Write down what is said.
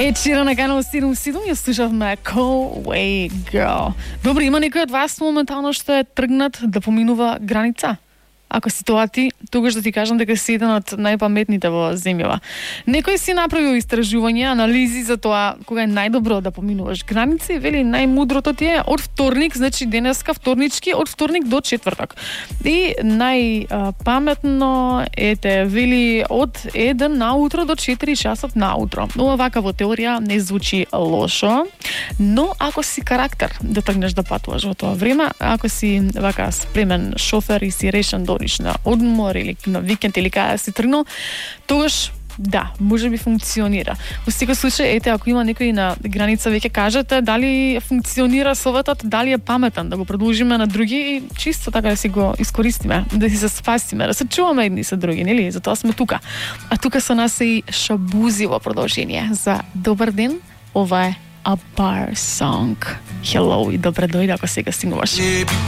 Ед Ширан на канал 77 ја слушавме Cold Way Girl. Добре, има некој од вас моментално што е тргнат да поминува граница? Ако си тоа ти, тогаш да ти кажам дека си еден од најпаметните во земјава. Некој си направил истражување, анализи за тоа кога е најдобро да поминуваш граници, вели најмудрото ти е од вторник, значи денеска вторнички, од вторник до четврток. И најпаметно вели од 1 наутро до 4 часот наутро. Ова вака во теорија не звучи лошо, но ако си карактер да тргнеш да патуваш во тоа време, ако си вака спремен шофер и си решен да на одмор или на викенд или каде си тргнал, тогаш да, може би функционира. Во секој случај, ете, ако има некој на граница, веќе кажете дали функционира советот, дали е паметен, да го продолжиме на други и чисто така да си го искористиме, да си се спасиме, да се чуваме едни со други, нели? Затоа сме тука. А тука со нас е и Шабузи во продолжение за добар ден. Ова е A Bar Song. Hello и добре дојде ако сега стигнуваш.